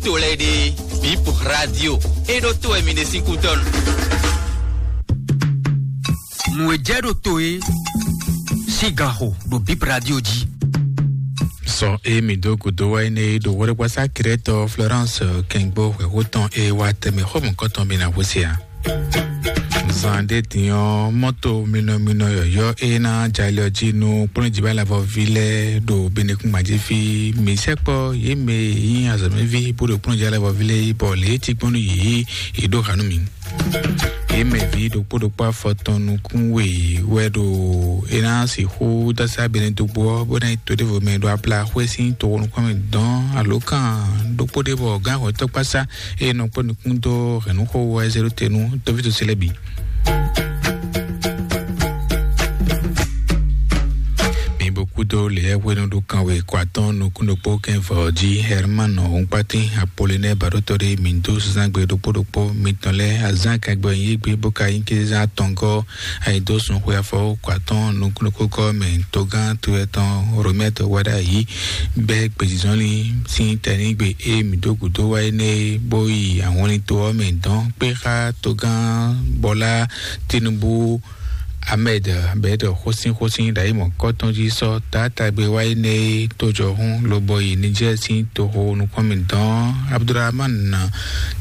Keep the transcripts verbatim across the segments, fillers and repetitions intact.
To lɛ́ɛ ɖe, Bip Radio e ɖo to wɛ mi ɖe sín kútɔ́nu. Nǔ e jɛ ɖo to e sín gan xo ɖo Bip Radio jí. Sɔ e mi dó gǔdo wá énɛ́ e ɖo hwɛɖégbasá Krɛtɔ Florence Kɛngbó hwɛ̌xó tɔn e wá tɛmɛ xɔmɔ̌kɔtɔn mi ná hwesí a? Zan ɖé din ɔ́, mɔto minɔminɔ yɔyɔ́ e ná jalɛ ɔ́ jí nú kplɔ́njibálavɔví lɛ́ɛ ɖo Benekúngban jí fí. Mi sɛkpɔ́ yě mɛ e nyí azɔ̌mɛví bó ɖo kplɔ́njibálavɔví lɛ́ɛ yí bɔ lě e tigbɔ́n nú yě yě ɖó ha nú mi. Yě mɛ ví ɖokpó ɖokpó afɔtɔn nukún we wɛ ɖo e ná sixú dásá Benedogbo ɔ́, bó ná yi to ɖěvo mɛ ɖo Abla xwé sín toxo nukún mɛ dɔn alǒkan ɖokpó ɖé bɔ gǎn hwɛtɔ́ kpásá eye nɔ kpɔ́ nukún dó hɛ̌nnúxó wɛ zé ɖó te nú tɔ́ví ce lɛ́ɛ bǐ. Mi bo kúdó lěyɛ́hwenu ɖo kanwe kɔ atɔ́ɔ́n nukún ɖokpó kɛ́n vɔ̌ jí Herman Hɔnkpátín Apolinɛ́ɛ baɖótɔ́ ɖé mi dó zán gbe ɖokpó ɖokpó mitɔn lɛ́ɛ azán kɛgbɛ yí gbé bó ka nyí kézán atɔngɔ́ ayidósun xwe afɔ kɔ atɔ́ɔ́n nukún ɖokpó kɔ́ mɛ togán to ɛtɔn Romɛ́ɛ wɛ ɖ'ayǐ bɛ́ gbězínzɔ́nlin sín tɛnígbe e mǐ dó gǔdo wá énɛ́ é bó yi ahwanlin to ɔ́ mɛ dɔn kpé xá togán Bɔlá Tinubu Ahmed bɛ̌ ɖɔ xósínxósín ɖo ayǐ mɔ̌kɔ́tɔn jí sɔ́ taátagbe wá énɛ́ é tójɔhún lobɔ yi Nijɛ́ɛ sín toxo nukɔn mɛ dɔn Abdulrahman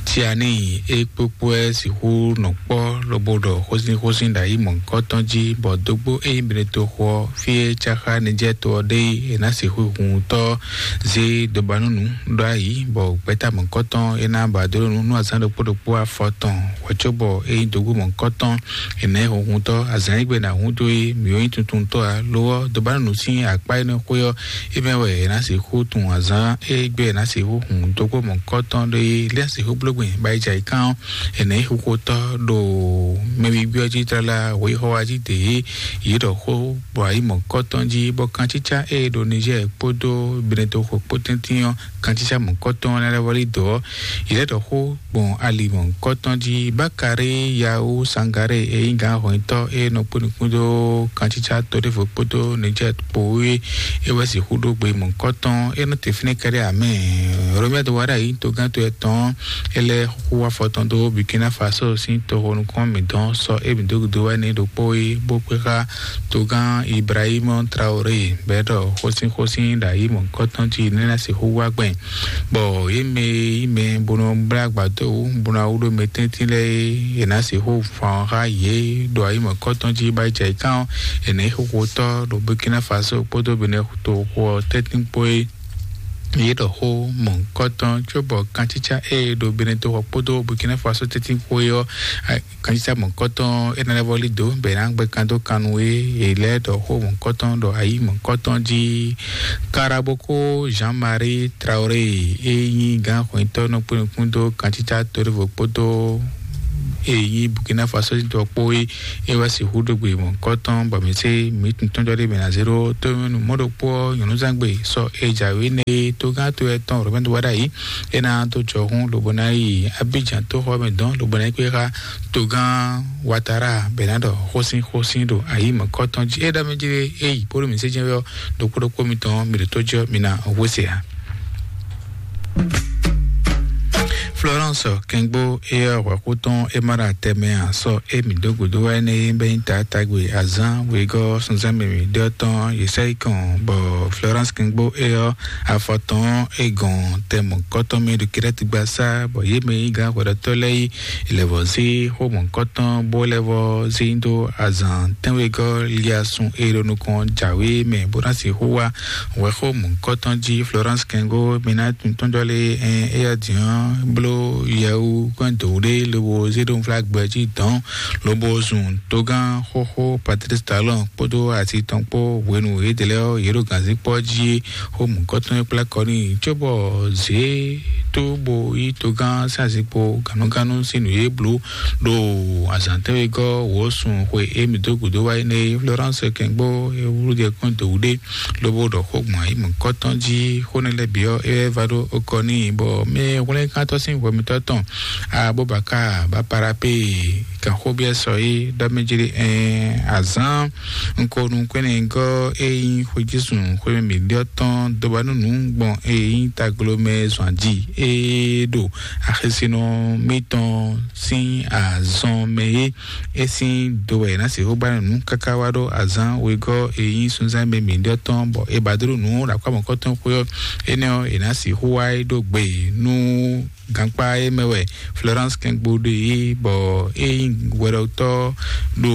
Tiani é kpókpó wɛ sixú nɔ kpɔ́ lobo ɖɔ xósínxósín ɖo ayǐ mɔ̌kɔ́tɔn jí bɔ dógbó é nyí Benetoxo ɔ́ fí é cáxá Nijɛ́ɛ to ɔ́ ɖe é, è nǎ sixú hun tɔ́ zé dobanúnu ɖó ayǐ bɔ gbɛ̌ta mɔ̌kɔ́tɔn é ná ba dó nú nú azǎn ɖokpó ɖokpó afɔ tɔn hwɛ̌ cóbɔ é nyí dǒgbó mɔ̌kɔ́tɔn. È nǎ nyí hunhuntɔ́ azǎn e gbe è nǎ hun dó é mǐ ó nyí tuntuntɔ́ ǎ. Lo ɔ́, dobanúnu sín akpá énɛ́ xwé ɔ́, é mɛ wɛ è nǎ sixú tunwun azǎn e gbe è nǎ sixú hun dógbó mɔ̌kɔ́tɔn ɖó é lɛ́ sixú bló gbɛn ba yi jɛ ayǐkán ɔ́, è nǎ nyí xuxotɔ́ ɖo mɛ ví gbé ɔ́ jí tlala hweyixɔ wá jí dě yě ɖɔ xó bɔ ayǐ mɔ̌kɔ́tɔn jí bɔ kancícá e ɖo Nizɛ́ɛ kpódó Benetoxo kpó tɛ́ntin ɔ́, kancícá mɔ̌kɔ́tɔn ɔ́ ná lɛ́ vɔ́ lí dǒ ɔ́, yě lɛ́ ɖɔ xó gbɔn ali mɔ̌kɔ́tɔn jí. Bákarí Yawu Sangaré e nyí gǎn hɔnyitɔ́ e nɔ kpó nukún dó kancícá to ɖěvo kpódó Nizɛ́ɛ kpó é, é wɛ sixú ɖó gbe mɔ̌kɔ́tɔn é nɔ te fínɛ́ kɛ́ɖɛ́ amɛ. Romɛ́ɛ wá ɖo ayǐ togán to ɛtɔn é lɛ́ xú afɔ tɔn dó Burkina Faso sín toxo nukún mǐtɔn sɔ é mǐ dó gúdo wá ní ɖokpó é bó kpé xá togán Ibrahim Traoré bɛ́ ɖɔ xósínxósín ɖo ayǐ mɔ̌kɔ́tɔn jí nɛ́ ná sixú wá gbɛn. Bɔ yě mɛ e nyí mɛ bó nɔ blá agbadó wú bó ná wú ɖó mɛ tɛ́ntin lɛ́ɛ é, è nǎ sixú fan xá yě ɖo ayǐ mɔ̌kɔ́tɔn jí bá jɛ ayǐkán ɔ́, è nǎ nyí xóxótɔ́ ɖo Burkina Faso kpódó Benetoxo ɔ́ tɛ́ntin kpó é. Yě ɖɔ xó mɔ̌kɔ́tɔn cóbɔ kancícá e ɖo Benetoxo kpódó Burkina Faso tɛ́ntin kpó é ɔ́, kancícá mɔ̌kɔ́tɔn é ná lɛ́ vɔ́ lí dǒ bɔ è nǎ gbɛ́ kan dó kan nú é. È lɛ́ ɖɔ xó mɔ̌kɔ́tɔn ɖɔ ayǐ mɔ̌kɔ́tɔn jí. Karaboko Jean-Marie Traoré e nyí gǎn hwɛntɔ́ nɔ kpé nukún dó kancícá toɖévo kpódó e nyí Burkina Faso tɔn kpó é, é wá sixú ɖó gbe mɔ̌kɔ́tɔn bɔ mǐ sé mǐ tun tɔ́njɔ ɖé mɛ ná zé ɖó tómɛnu mɔ̌ ɖokpó ɔ́ nyɔ̌núzangbe sɔ e jǎwe nɛ é tógán to ɛtɔn Romain wá ɖ'ayǐ é ná dó jɔhún lobo ná yi Abidjan tóxɔ mɛ dɔn lobo ná yi kpé xá togán Ouattara bɛ ná ɖɔ xósín xósín ɖo ayǐ mɔ̌kɔ́tɔn jí. É ɖɔ mɛ jí é yi bónú mǐ sé jɛ́n wɛ ɔ́, ɖokpó ɖokpó mitɔn mi ɖo tó jɔ mi ná hwesé ǎ. Florence Kengbo é ɔ́ hwɛ̌xú tɔn é má ɖo atɛ mɛ ǎ sɔ é mǐ dó gǔdo wá énɛ́ é bɛ́ nyí taátagbe azǎn wegɔ́ sunzán mɛ mǐ ɖɔ tɔn yě sɛ́ yi kɔn bɔ Florence Kengbo é ɔ́ afɔ tɔn é gɔn tɛ mɔ̌kɔ́tɔn mɛ ɖo Kirɛ́ti gbasá bɔ yě mɛ nyí gǎn hwɛɖɔtɔ́ lɛ́ɛ yi lɛ̌vɔ́ zé xó mɔ̌kɔ́tɔn bó lɛ́ vɔ́ zé nyi dó azǎn tɛ́nwegɔ́ Liasun e ɖo nukɔn jǎwe mɛ bó ná sixú wá hwɛxó mɔ̌kɔ́tɔn jí Florence Kengo Minatu tɔnjɔlé ɛn éyɛ́ din ɔ́ bló yɛwu kɔn dǒ ɖé lobo zé ɖó nflá gbɛ jí dɔn lobo zun togán xóxó Patrice Talon kpódó asi tɔn kpó hwenu yědɛɛ lɛ́ɛ ɔ́ yě ɖo gǎnzíkpɔ́ jí xó mɔ̌kɔ́tɔn e kplá kɔ n'i cóbɔ zě tó bo yí togán sín azinkpo gannúgannú sín nǔ e bló ɖo azǎn tɛ́nwegɔ́ wǒsun xwe e mǐ dó gǔdo wá énɛ́ é. Florence Kɛngbó e wlú jɛ kpɔ́n dǒwú ɖé lobo ɖɔ xó gbɔn ayǐ mɔ̌kɔ́tɔn jí xó nɛ́ lɛ́ɛ bǐ ɔ́, é wɛ va ɖó okɔ n'i bɔ mɛ hwlɛ́nkántɔ́ sín hwɛ mitɔ́ tɔn Abubakar Baparapé Kan xó byɔ́ sɔ é ɖɔ mɛ jí ɖe ɛn azán nukɔnukɔnɛgɔ́ e nyí xwéjúzun xwémɛ mǐɖyɔ́ tɔn dɔbanúnú gbɔn e nyí taglomɛ zɔn aji e ɖo axisínɔ mítɔn sín azɔn mɛ é. E sín do wɛ ná sixú ba nǔ káká wá ɖó azán wegɔ́ e nyí sunzán mɛ mǐɖyɔ́ tɔn bɔ e ba dó ɖo nǔ ɖo akwámɔkɔ́tɔn xwé ɔ́. Énɛ́ ɔ́, è nǎ sixú wá é ɖó gbe nú gankpá e mɛ wɛ Florence Kɛngbo ɖe yi, bɔ e nyí hwɛɖɔtɔ́ ɖo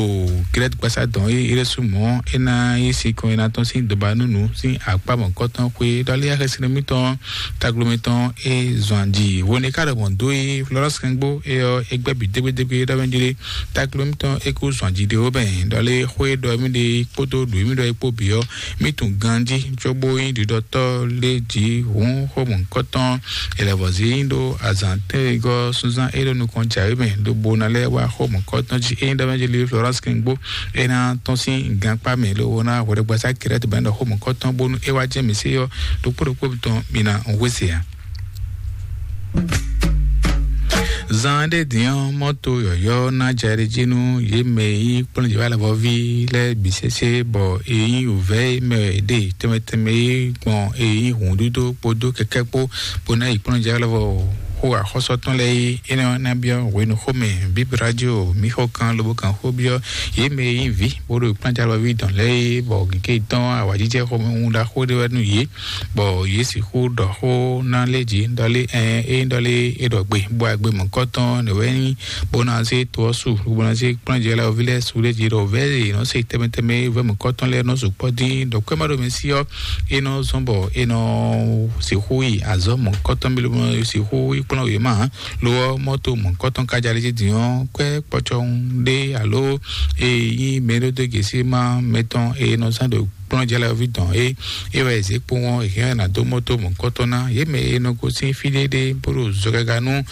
Grɛ́t gbasa dɔn e Erasumɔ e ná yi sin kɔn e ná tɔn sín dɔbanúnu sín akpá mɔ̌kɔtɔn xwé ɖɔlé axɛsinɔ mítɔn taglo mítɔn e zɔn aji hwene ka ɖɔ mɔ̌ dó e Florence Kɛngbo e ɔ́ e gbɛ́ bǐ dégbédégbé ɖɔ mɛ jí ɖé. Taglo mítɔn e kú zɔn aji ɖe wó mɛ ɖɔlé xwé ɖɔ mí ɖe kpódó ɖo mí ɖɔ e kpó bǐ ɔ́, mí tunwun ganjí cóbó nyí ɖiɖɔtɔ́ lé jǐ hǔn xó mɔ̌hunkɔtɔn. È lɛ̌ vɔ̌ zí nyi ɖó azǎn tɛ́nwegɔ́ súnzán é ɖo nukɔn jǎwe mɛ, lobo ná lɛ́ wá xó mɔ̌hunkɔtɔn jí. É nyí ɖɔ mɛ jí lí Florence Kɛngbó, é ná tɔ́n sín gankpá mɛ, lobo ná hwɛɖɛgbasá Kirɛ́ti bɛ́ ɖɔ xó mɔ̌hunkɔtɔn, bónú é wá jɛ mǐ sí ɔ́, ɖokpó ɖokpó tɔn mǐ ná hwesé ǎ. Zan ɖé din ɔ́, mɔto yɔyɔ́ ná jɛ ɖe jí nú yě mɛ e nyí kplɔ́njɛwálɛvɔví lɛ́ɛ bǐ sésé, bɔ è nyí wǔvɛ́ e mɛ è ɖe tɛnmɛ tɛnmɛ é gbɔn è nyí hǔndúdó kpódó kɛkɛ́ kpó, bó ná yi kplɔ́njɛwálɛvɔ xó axɔ́sɔ tɔn lɛ́ɛ é. Énɛ́ ɔ́ ná byɔ́ hwenu xomɛ Bíblia radio mǐ xɔ kan lobo kan xó byɔ́ yě mɛ e nyí vǐ bó ɖo kplɔ́njɛwálɛvɔví dɔn lɛ́ɛ é, bɔ gěgé tɔn awǎjijɛ xomɛ wun ɖaxó ɖé wɛ nú yě. Bɔ yě sixú ɖɔ xó ná lé jí ɖɔlé ɛn é ɖɔlé é ɖɔ gbe bó agbe mɔ̌kɔtɔn nɛ wɛ nyí bó ná zé to ɔ́ su bó ná zé kplɔ́njɛ lɛ́ɛ ɔ́ ví lɛ́ɛ su lé jí ɖɔ vɛ́ yě nɔ se tɛmɛ tɛmɛ vɛ́ mɔ̌kɔtɔn lɛ́ɛ nɔ sukpɔ́ dín ɖɔ kwɛ́ má ɖo mɛ sí ɔ́, é nɔ zɔ́n bɔ é nɔ sixú yi azɔ̌ mɔ̌kɔtɔn bí ló nɔ sixú yi kplɔ́n wě má. Lo ɔ́, mɔ́to mɔ̌kɔtɔn kájá lé jí dín ɔ́, kwɛ́ kpɔ́cɔ́hún ɖé alo e nyí mɛ ɖó dó gěsí má mɛtɔn e nɔ zán ɖo kplɔ́njɛlɛví dɔn é. É wɛ zě kpowɔn hɛn ná dó mɔto mɔ̌kɔtɔn ná yě mɛ e nɔ gosín fí ɖéɖé bó ɖo zɔgaga nú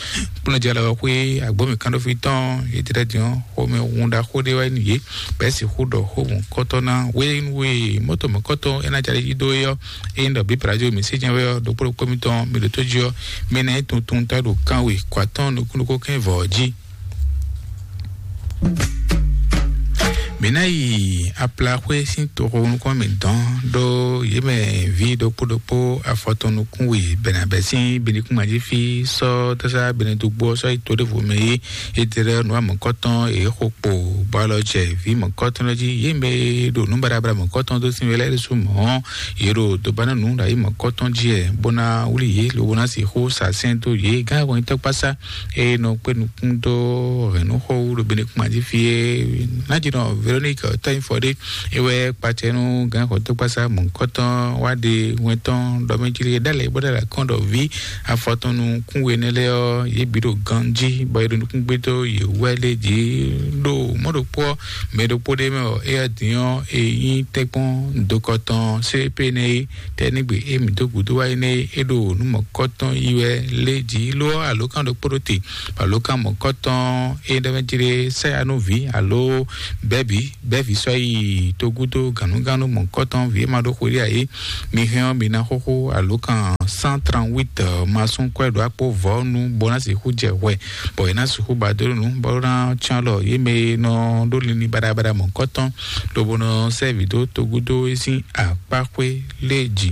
kplɔ́njɛlɛwɔxwé agbómìkánɖófí tɔn. Yě tlɛ din ɔ́, xomɛ hun ɖaxó ɖé wɛ nú yě bɛ́ sixú ɖɔ xó mɔ̌kɔtɔn ná wé nú wé mɔto mɔ̌kɔtɔn é ná jalè yí dó é ɔ́. É nyí ɖɔ bí Brazil mǐ sí jɛ́n wɛ ɔ́, ɖokpó ɖokpó mitɔn mi ɖo tó jí ɔ́, mi ná nyí tuntun ta ɖo kanwe kɔ atɔ́ɔ́n nukúnnukún kɛ́n vɔ̌ jí. Mǐ ná yi aplaxwé sín toxo nukɔn mǐtɔn ɖó yě mɛ ví ɖokpó ɖokpó afɔtɔn nukún we bɛnabɛ sín binukúnmají fí sɔ́ tɔ́sá benedugbo ɔ́ sɔ́ yi to ɖěvo mɛ é. Étɛ́lɛ́ nǔ amɔ̌kɔtɔn è xo kpo bɔ alɔ jɛ vǐ mɔ̌kɔtɔn lɛ́ɛ jí. Yě mɛ e ɖo nǔ baɖabaɖa mɔ̌kɔtɔn dó sín wɛ lɛ́ɛ ɖésú mɔ̌, yě ɖo dobanánǔ ɖo ayǐ mɔ̌kɔtɔn jí wɛ, bó ná wlí yě lobo ná sixú sa sɛ́n dó yě. Gán hwɛntɔ́kpásá e nɔ kpé nukún dó hɛ̌nnúxɔ wú ɖo Benekuma jí fí é. Nájínɔ Véronique Tɔ́nyifɔ ɖé, é wɛ kpacɛ nú gǎn xɔtɔ́gbasá mɔ̌hunkɔtɔn wá ɖe wɛn tɔn ɖɔ mɛ jí lé ɖ'alɛ bó ɖ'alɛ kɔn ɖɔ ví afɔtɔn nukún we nɛ́ lɛ́ɛ ɔ́, yě bǐ ɖo ganjí bɔ è ɖo nukún gbé dó yě wú wɛ lé jí. Ɖo mɔ̌ ɖokpó ɔ́, mɛ ɖokpó ɖé mɛ ɔ́, éyɛ́ din ɔ́, è nyí tɛ́nkpɔ́n dokɔtɔn C P nɛ́ é. Tɛ́ nígbe e mǐ dó gǔdo wá é nɛ́ é ɖo nǔ mɔ̌kɔtɔn yi wɛ lé jǐ ló ɔ́, alǒkan ɖokpó ɖo te, alǒkan mɔ̌kɔtɔn e ɖɔ mɛ jlé sɛ́ ya nú vǐ alo bɛ́bǐ bɛ́vǐ sɔ́ yi togúdo gǎnúgánú mɔ̌kɔtɔn vǐ e ma ɖó xwedí ǎ é. Mi hɛn ɔ́, mi ná xóxó alǒkan cent trente-huit masún kwɛ́ ɖo akpó vɔ̌ nu bó ná sixú jɛ hwɛ, bɔ è ná sixú ba dó nú bó ná cyɔ́n alɔ yě mɛ e nɔ ɖó linlin baɖabaɖa mɔ̌kɔtɔn lobo nɔ sɛ́ vǐ dó togúdo é sín akpáxwé lé jí.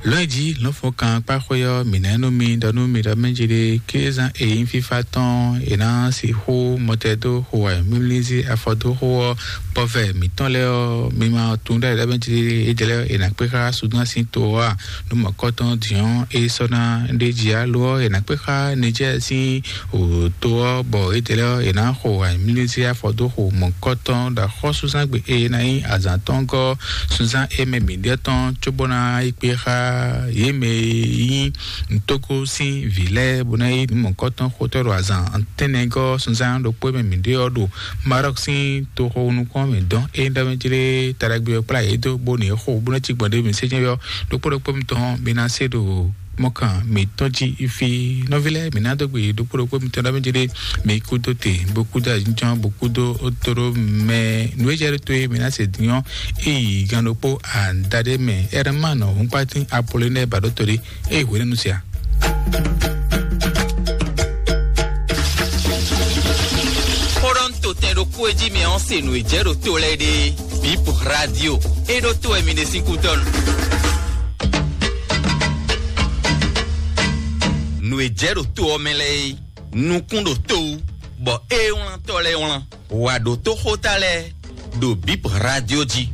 Lɔ̌nyijǐ lɔ̌nfɔ́nkan kpáxwé ɔ́, mǐ ná nú mi ɖɔ nú mi ɖɔ mɛ jí ɖé kézán e nyí fífá tɔn è nǎ sixú mɔtɛ dó xo wɛ mímlízí afɔ dó xó ɔ́, bɔvɛ mǐtɔn lɛ́ɛ ɔ́, mi ma tunwun ɖɔ è ɖɔ mɛ jí ɖé é jɛ lɛ́ɛ è nǎ kpé xá Sudan sín to ɔ́ a? Nú mɔ̌kɔtɔn dǐn ɔ́, é sɔ́ ná ɖ'é jí ǎ, lo ɔ́, è nǎ kpé xá Nijɛ́ɛ sín wǒ to ɔ́, bɔ étɛ́ lɛ́ɛ ɔ́, è nǎ xo amlísí afɔ dó xo mɔ̌kɔtɔn ɖo axɔ́súzángbe e ná nyí azǎn tɔn gɔ́ súnzán e mɛ mǐɖyɔ́ tɔn, cóbó ná yi kpé xá yě mɛ e nyí nǔtókó sín vǐ lɛ́ɛ, bó ná nyí nǔ mɔ̌kɔtɔn xotɔ́ ɖo azǎn tɛ́nnɛ gɔ́ súnzán ɖokpó e mɛ mǐɖyɔ́ ɔ́ ɖo Marɔ́k sín toxo nukɔn mɛ dɔn. É nyí ɖɔ mɛ jlé taɖagbe ɔ́ kplá yě dó, bó ní xo, bó ná cí gbɔn ɖé mɛ sé nyɛ ɔ́, ɖokpó ɖokpó mitɔn mi ná se ɖo mɔkan mǐtɔn jí fí. Nɔví lɛ́ɛ, mǐ ná dó gbe ɖokpó ɖokpó mitɔn ɖɔ mɛ jí ɖé, mi kú dó te, bó kú dó ajínjɔ́n, bó kú dó tóɖó mɛ nǔ e jɛ ɖó tó e mi ná se din ɔ́, é yi gan ɖokpó adaɖé mɛ. Ɛrɛmánɔ húnkpátín Apolonɛ́ɛ ba ɖó to ɖé, é yi hwěɖénu sia. Kó e jí mi ɔ́ se nǔ e jɛ ɖo to lɛ́ɛ ɖe. Bip Radio, e ɖo to wɛ mi ɖe sín kútɔ́ nu. Nǔ e jɛ ɖo to ɔ́ mɛ lɛ́ɛ é, nukún ɖo to wú, bɔ é wlán tɔ́ lɛ́ɛ wlán. Wà ɖo tó xóta lɛ́ɛ ɖo Bip Radio jí.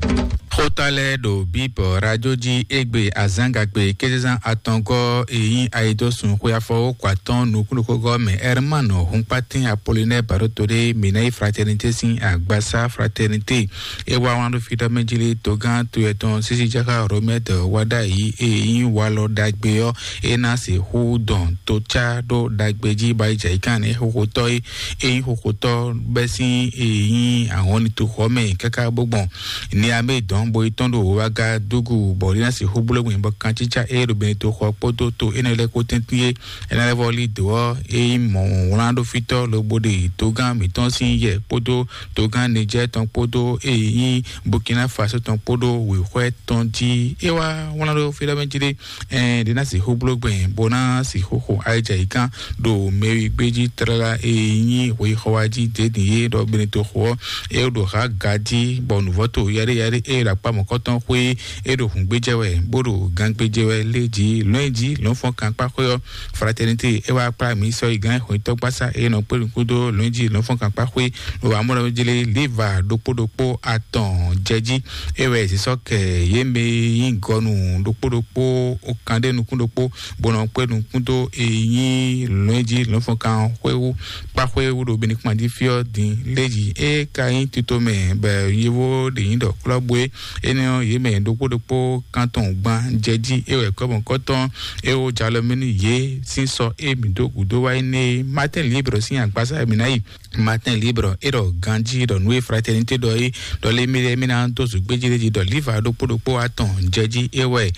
Xóta lɛ́ɛ ɖo Bip Radio jí égbé azǎngagbe kézezán atɔngɔ́ e nyí ayidósun xwe afɔwókɔ atɔ́ɔ́n nukúnɖokógɔ́ mɛ Herman Hunkpatin Apollinaire Baɖótodé Minayi Fraternité sín agbasá Fraternité. É wá wlán ɖó fí ɖɔ mɛ jí lé togán to yɛtɔn sísí jáká Romɛt Wadayi e nyí walɔ ɖagbe ɔ́, é ná sixú dɔn tó cá ɖó ɖagbe jí ba yi jɛ yi kán nɛ́ xóxótɔ́ é. É nyí xóxótɔ́ bɛ́ sín e nyí ahɔnni toxɔ mɛ káká bó gbɔn Niamey dɔn bo yi tɔn ɖo Ouagadougou bɔ é ná sixú bló gbɛn bɔ kancícá e ɖo Benetoxɔ kpódó to énɛ́ lɛ́ɛ kpó tɛ́ntin é. É ná lɛ́ vɔ lí dǒ ɔ́, é nyí mɔ̌ wlán ɖó fítɔ́ lobo ɖe togán mǐtɔn sín yɛ kpódó togán Nijɛ́ɛ tɔn kpódó e nyí Burkina Faso tɔn kpódó wěxwɛ́ tɔn jí. É wá wlán ɖó fí ɖɔ mɛ jí ɖé, ɛn ɖě ná sixú bló gbɛn bó ná sixú xo ayidja yi kán ɖo mɛwi gbé jí tlala e nyí hwexɔ wá jí dě din é ɖɔ Benetoxɔ ɔ́, é ɖo hǎ ga jí bɔ nǔvɔ́ to yaɖé yaɖé é ɖo akpá mɔ̌kɔtɔn xwé é ɖo hǔngbéjɛ wɛ bó ɖo gangbéjɛ wɛ lé jí lɔ̌nyijǐ lɔ̌nfɔ́n kankpá xwé ɔ́. Fraternité é wá kplá mǐ sɔ́ yi gán xwetɔ́gbásá é nɔ kpé nukún dó lɔ̌nyijǐ lɔ̌nfɔ́n kankpá xwé ɖo amúnɔjlé liva ɖokpó ɖokpó atɔn jɛ jí. É wɛ zǐsɔ́ kɛ yě mɛ e nyí gɔnu ɖokpó ɖokpó ó kan ɖé nukún ɖokpó bó nɔ kpé nukún dó e nyí lɔ̌nyijǐ lɔ̌nfɔ́nkan xwé wú kpá xwé wú ɖo Benikuma jí fí ɔ́ din lé jí. É ka nyí tito mɛ bɔ yěvó ɖě nyí ɖɔ klɔ́bú é. Énɛ́ ɔ́, yě mɛ ɖokpó ɖokpó kántɔn gban jɛ jí é wɛ kɔ́mɔkɔ́tɔn é wó jalɔ mɛ nú yě sín sɔ é mǐ dó gǔdó wá énɛ́ é. Martin Libre sín agbasá e mǐ ná yi. Martin Libre é ɖɔ ganjí ɖɔ nǔ e Fraternité ɖɔ é ɖɔ lé mí lɛ́ɛ mí ná dó zǔgbéjí lé jí ɖɔ líva ɖokpó ɖokpó atɔn jɛ jí é wɛ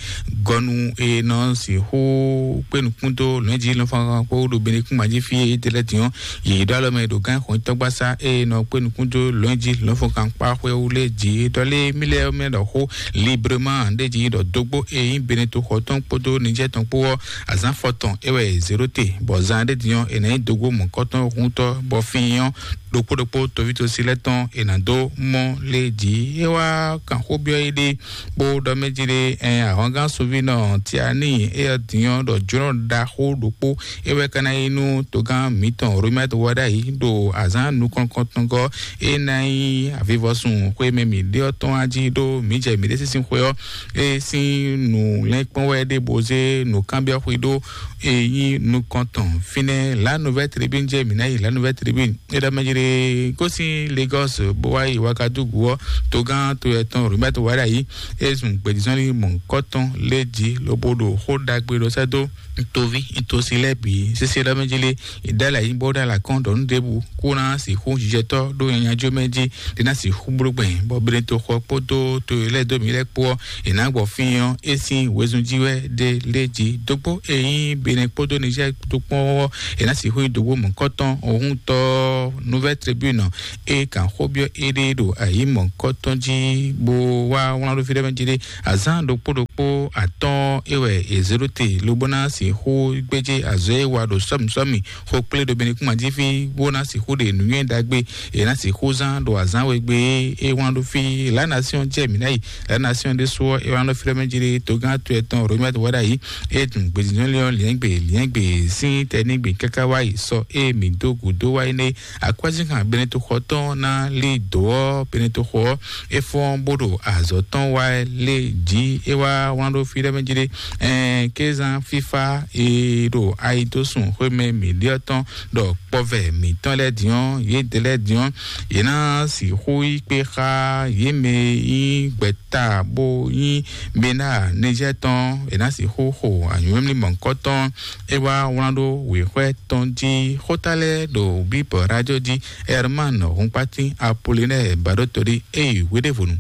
gɔnu e nɔ sixú kpé nukún dó lɔ̌njǐ lɔ̌nfɔ́nkan kpó ɖo Benekúnma jí fí e é ɖe lɛ́ɛ din ɔ́, yě ɖó alɔ mɛ ɖo gán xɔnyítɔ́gbasá e nɔ kpé nukún dó lɔ̌njǐ lɔ̌nfɔ́nkan kpá xwé wú lé jí ɖɔ lé mí lɛ́ɛ mɛ ɖɔ xó librement ɖé jí ɖɔ dógbó e nyí Beneto xɔ tɔn kpódó Nijɛ́ tɔn kpó ɔ́, azǎn fɔtɔn é wɛ è zě ɖó te, bɔ zan ɖé din ɔ́, è nǎ nyí dógbó mɔ̌kɔtɔn húntɔ́ bɔ fín ɔ́, ɖokpó ɖokpó toví tosí lɛ́ɛ tɔn è nǎ dó mɔ lé jí. É wá kan xó byɔ́ éɖée, bó ɖɔ mɛ jí ɖé, ɛn ahwangán sunvínɔ Tiani éyɛ́ din ɔ́ ɖɔ jlɔ́ ɖaxó ɖokpó é wɛ ka ná nyí nú togán mǐtɔn Romɛ́t wá ɖ'ayǐ ɖo azǎn nukɔn-, kɔntɔngɔ́ é ná nyí avivɔsun xwé mɛ mǐ ɖe ɔ́ tɔn wá jí ɖó mǐ jɛ mǐɖée sín xwé ɔ́, é sín nǔ lɛ́nkpɔ́n wɛ ɖé bó zé nǔkanbyɔ́ xwé ɖó é nyí nukɔn tɔn fínɛ́. La Nouvelle Tribune jɛ mǐ ná yi La Nouvelle Tribune. É ɖɔ mɛ jí ɖé gosín Lagos bó wá yi Ouagadougou ɔ́, togán to yɛtɔn Robert Wadayi é zun gbědízɔ́nlí mɔ̌hunkɔtɔn lé jí lobo ɖo xó ɖagbe ɖɔ sɛ́ dó ntoví ntosi lɛ́ɛ bǐ sésé ɖɔ mɛ jí lé. È ɖó alɛ yí bó ɖó alɛ kɔn ɖɔ nú ɖěbǔ kó ná sixú jijɛtɔ́ ɖó nyanya jó mɛ jí ɖé ná sixú bló gbɛn bɔ Beneto xɔ kpódó to e lɛ́ɛ dó mǐ lɛ́ɛ kpó ɔ́, è nǎ gbɔ fín ɔ́ é sín wezun jí wɛ ɖé lé jí dógbó e nyí Benin kpódó Niger tó kpɔ́n ɔ́, è nǎ sixú nyí dǒgbó mɔ̌kɔtɔn ohúntɔ́ Nouvelle Tribune e kan xó byɔ́ éɖée ɖo ayǐ mɔ̌kɔtɔn jí bó wá wlán ɖó fí ɖé mɛ jí ɖé. Azǎn ɖokpó ɖokpó atɔ́ɔ́n é wɛ è zě ɖó te lobo ná sixú gbéjé azɔ̌ e wa ɖo sɔ́mǐ sɔ́mǐ xo kplé ɖo Benin kúnma jí fí bó ná sixú ɖe nǔnywɛ́ ɖagbe è nǎ sixú zán ɖo azǎn we gbe é wlán ɖó fí. La Nation jɛ mǐ ná yi. La Nation ɖésú ɔ́ é wá nɔ flɛ́ mɛ jí ɖé togán to ɛtɔn Romɛt wá ɖ'ayǐ. É dun gbězínjɔ́nlé ɔ́ liɛ́ngbè liɛ́ngbè sín tɛnígbe káká wá yi sɔ é mǐ dó gǔdó wá yi nɛ́. Akwɛ́zínkan Beneto xɔ tɔn ná lí dǒ ɔ́, Beneto xɔ ɔ́ é fɔ́n bó ɖo azɔ̌ tɔn wá lé jí. É wá wlán ɖó fí ɖé mɛ jí ɖé. Ɛn kézán fífá e ɖo ayidósùn xwémɛ mǐɖyɔ́ tɔn ɖɔ kpɔvɛ mǐtɔn lɛ́ɛ din ɔ́, yědɛɛ lɛ́ɛ din ɔ́, yě ná sixú yí kpé xá yě mɛ e nyí gbɛ̌ta bó nyí Bena Nizɛ́ɛ tɔn, è nǎ sixú xo anyǔmlímlí mɔ̌hunkɔtɔn. É wá wlán ɖó wěxwɛ́ tɔn jí xóta lɛ́ɛ ɖo Bíbɔ rájó jí. Herman Hunkpatín Apolinɛ́ɛ Baɖótodí é yi hweɖěvɔnu.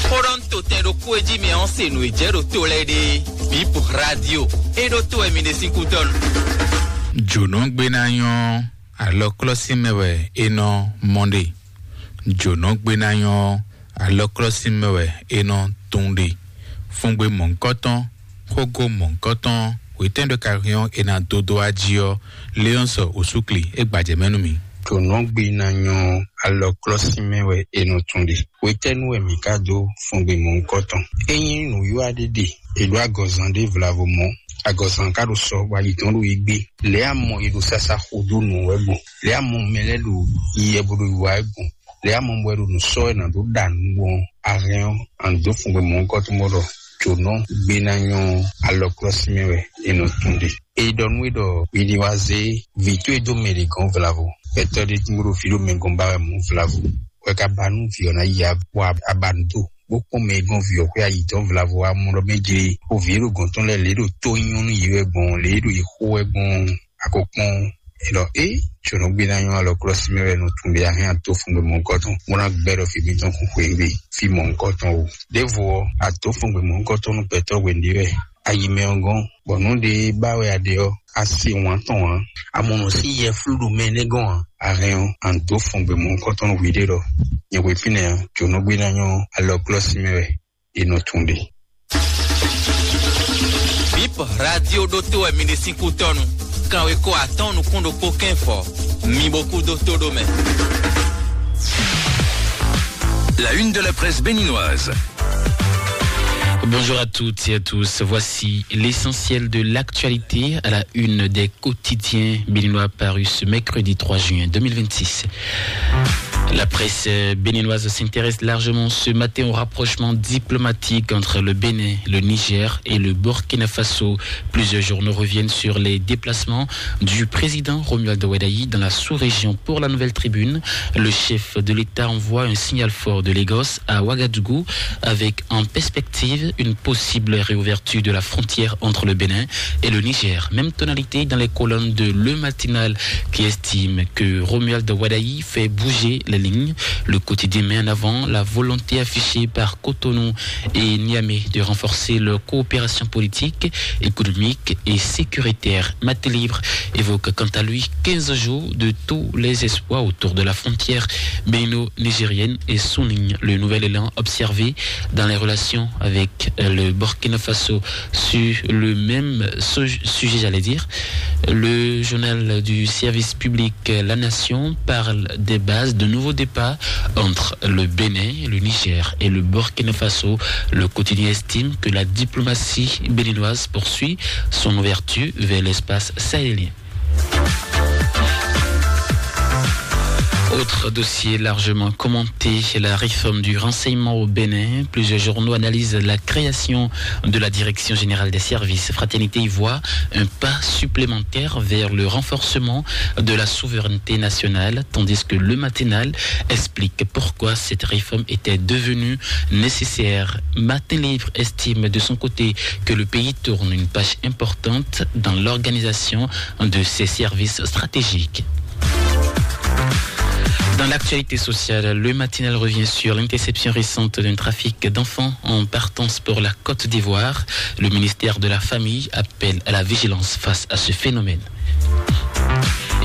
Xó ɖɔ nú to tɛn ɖokpó e jí mi ɔ́ se nǔ e jɛ ɖo to lɛ́ɛ ɖe. Bip Radio, é ɖó to wɛ mi ɖe sín kútɔ́nu. Jǒnɔgbénányɔ́ alɔklɔ́sín mɛ wɛ è nɔ mɔ ɖe. Jǒnɔgbénányɔ́ alɔklɔ́sín mɛ wɛ è nɔ tunwun ɖe. Fúngbé mɔ̌hunkɔtɔn, xógó mɔ̌hunkɔtɔn, hwetɛ́n ɖo ka hɛn ɔ́ è nǎ dó dó wá jí ɔ́, Léɔ́nsɔ Osúkli é gbajɛ mɛ nú mi. Jǒnɔgbé ná nyɔ́ alɔklɔ́sin mɛ wɛ è nɔ tun ɖe. Hwetɛ́nu wɛ mǐ ka dó fɔngbe mɔ̌hunkɔtɔn? Ényí nǔwiwa ɖé ɖe, è ɖó agɔzan ɖé vlavo mɔ̌, agɔzan ka ɖo sɔ bɔ ayi tɔn ɖo yi gbé. Lě a mɔ è ɖo sasa xo dó nǔ wɛ gbɔn, lě a mɔ mɛ lɛ́ɛ ɖo yi wɛ bó ɖo yi wa wɛ gbɔn, lě a mɔ bɔ è ɖo nǔ sɔ́ wɛ nǎ dó ɖa nǔ gbɔn, a hɛn ɔ́, a nǎ dó fɔngbe mɔ̌hunkɔtɔn bó ɖɔ jǒnɔgbé ná nyɔ́ alɔklɔ́sin mɛ wɛ è nɔ tun ɖe. È ɖɔ nú we ɖɔ mi ní wá zé vǐ towe dó mɛ ɖě gɔ́n vlavo. Gbɛtɔ́ ɖé tún ɖo fí ɖo mɛ gɔ́n ba wɛ mɔ̌ vlavo. Wɛ ka ba nú vǐ ɔ́ ná yi abɔ abanú do, bó kpɔ́n mɛ e gɔ́n vǐ ɔ́ xwé ayi tɔn vlavo wá mɔ ɖɔ mɛ jlé, bó vǐ e ɖo gɔ̌n tɔn lɛ́ɛ lě ɖo tó nyɔ́ nú yě wɛ gbɔn, lě e ɖo yě xo wɛ gbɔn. A ko kpɔ́n é ɖɔ é, jǒnɔgbé ná nyɔ́ alɔklɔ́sin mɛ wɛ nɔ tun ɖe a hɛn ato fun ɖo mɔ̌hunkɔtɔn, bó ná gbɛ́ ɖɔ fí mǐtɔn kún xweyǐgbe fí mɔ̌hunkɔtɔn o. Ɖěvo ɔ́, ato fun gbe mɔ̌hunkɔtɔn nú gbɛtɔ́ hwenu ɖé wɛ. A yi mɛ ɔ́ gɔ́n, bɔ nǔ ɖé ba wɛ a ɖe ɔ́, a se wǎn tɔn ǎ. A mɔ nǔ sín yɛflú ɖo mɛ énɛ́ gɔ́n ǎ. A hɛn ɔ́, a nǐ dó fɔn gbe mɔ̌hunkɔtɔn nú hwiɖée ɖɔ nyɛ hwe fínɛ́ ǎ. Jǒnɔgbé ná nyɔ́ alɔklɔ́sin mɛ wɛ è nɔ tun ɖe. Bip radio ɖótó wɛ mi ɖe sín kútɔ́nu. Kanweko atɔ́ɔ́n nukún ɖokpó kɛ́nfɔ. Mi bo kú dó tó ɖó mɛ. La une de la presse béninoise. Bonjour à toutes et à tous. Voici l'essentiel de l'actualité à la une des quotidiens béninois parus ce mercredi trois juin deux mille vingt-six. La presse, euh, béninoise s'intéresse largement ce matin au rapprochement diplomatique entre le Bénin, le Niger et le Burkina Faso. Plusieurs journaux reviennent sur les déplacements du président Romuald Wadagni dans la sous-région. Pour la Nouvelle Tribune, le chef de l'État envoie un signal fort de Lagos à Ouagadougou avec en perspective une possible réouverture de la frontière entre le Bénin et le Niger. Même tonalité dans les colonnes de Le Matinal qui estime que Romuald Wadagni fait bouger les lignes. Le quotidien met en avant la volonté affichée par Cotonou et Niamey de renforcer leur coopération politique, économique et sécuritaire. Matin Libre évoque quant à lui quinze jours de tous les espoirs autour de la frontière bénino-nigérienne et souligne le nouvel élan observé dans les relations avec le Burkina Faso. Sur le même su-, sujet, j'allais dire, le journal du service public, La Nation, parle des bases de nouveaux départs entre le Bénin, le Niger et le Burkina Faso. Le quotidien estime que la diplomatie béninoise poursuit son ouverture vers l'espace sahélien. Autre dossier largement commenté, la réforme du renseignement au Bénin. Plusieurs journaux analysent la création de la Direction générale des services. Fraternité y voit un pas supplémentaire vers le renforcement de la souveraineté nationale, tandis que Le Matinal explique pourquoi cette réforme était devenue nécessaire. Matin Libre estime de son côté que le pays tourne une page importante dans l'organisation de ses services stratégiques. Dans l'actualité sociale, Le Matinal revient sur l'interception récente d'un trafic d'enfants en partance pour la Côte d'Ivoire. Le ministère de la Famille appelle à la vigilance face à ce phénomène.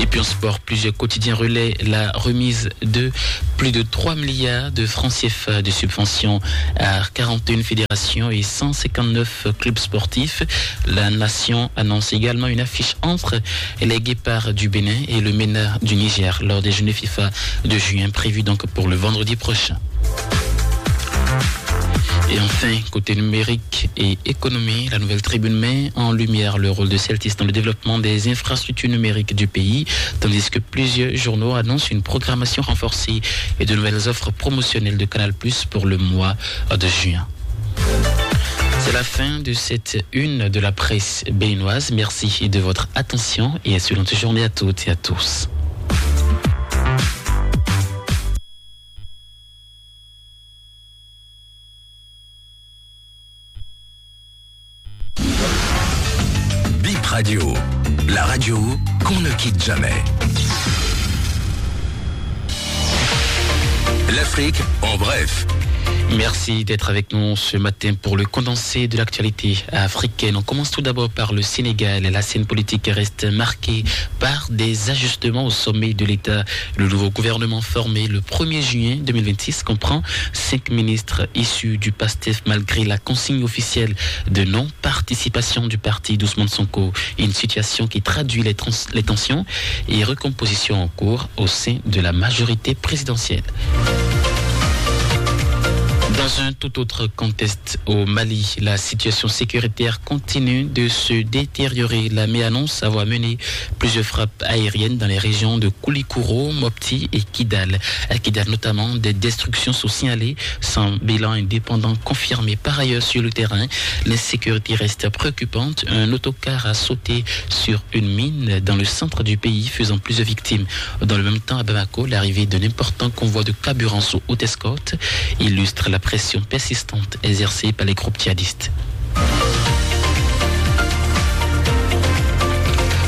Et puis en sport, plusieurs quotidiens relaient la remise de plus de trois milliards de francs C F A de subventions à quarante et une fédérations et cent cinquante-neuf clubs sportifs. La Nation annonce également une affiche entre les Guépards du Bénin et le MENA du Niger lors des Journées FIFA de juin prévues donc pour le vendredi prochain. Et enfin, côté numérique et économie, la Nouvelle Tribune met en lumière le rôle de Celtis dans le développement des infrastructures numériques du pays, tandis que plusieurs journaux annoncent une programmation renforcée et de nouvelles offres promotionnelles de Canal Plus pour le mois de juin. C'est la fin de cette une de la presse béninoise. Merci de votre attention et excellente journée à toutes et à tous. Bip Radio, la radio qu'on ne quitte jamais. L'Afrique en bref. Merci d'être avec nous ce matin pour le condensé de l'actualité africaine. On commence tout d'abord par le Sénégal. La scène politique reste marquée par des ajustements au sommet de l'État. Le nouveau gouvernement formé le premier juin deux mille vingt-six comprend cinq ministres issus du PASTEF malgré la consigne officielle de non-participation du parti d'Ousmane Sonko. Une situation qui traduit les, trans- les tensions et recompositions en cours au sein de la majorité présidentielle. Dans un tout autre contexte, au Mali, la situation sécuritaire continue de se détériorer. L'armée annonce avoir mené plusieurs frappes aériennes dans les régions de Koulikoro, Mopti et Kidal. À Kidal notamment, des destructions sont signalées sans bilan indépendant confirmé. Par ailleurs, sur le terrain, l'insécurité reste préoccupante. Un autocar a sauté sur une mine dans le centre du pays, faisant plusieurs victimes. Dans le même temps, à Bamako, l'arrivée d'un important convoi de carburant sous haute escorte illustre la pression persistante exercée par les groupes djihadistes.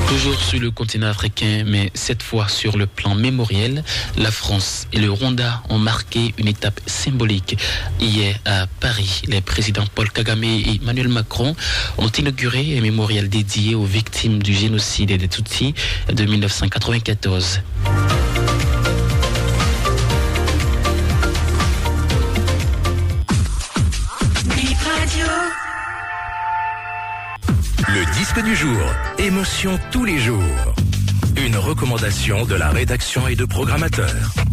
Toujours sur le continent africain, mais cette fois sur le plan mémoriel, la France et le Rwanda ont marqué une étape symbolique. Hier à Paris, les présidents Paul Kagame et Emmanuel Macron ont inauguré un mémorial dédié aux victimes du génocide des Tutsis de mille neuf cent quatre-vingt-quatorze. Le disque du jour, émotion tous les jours. Une recommandation de la rédaction et de programmateurs.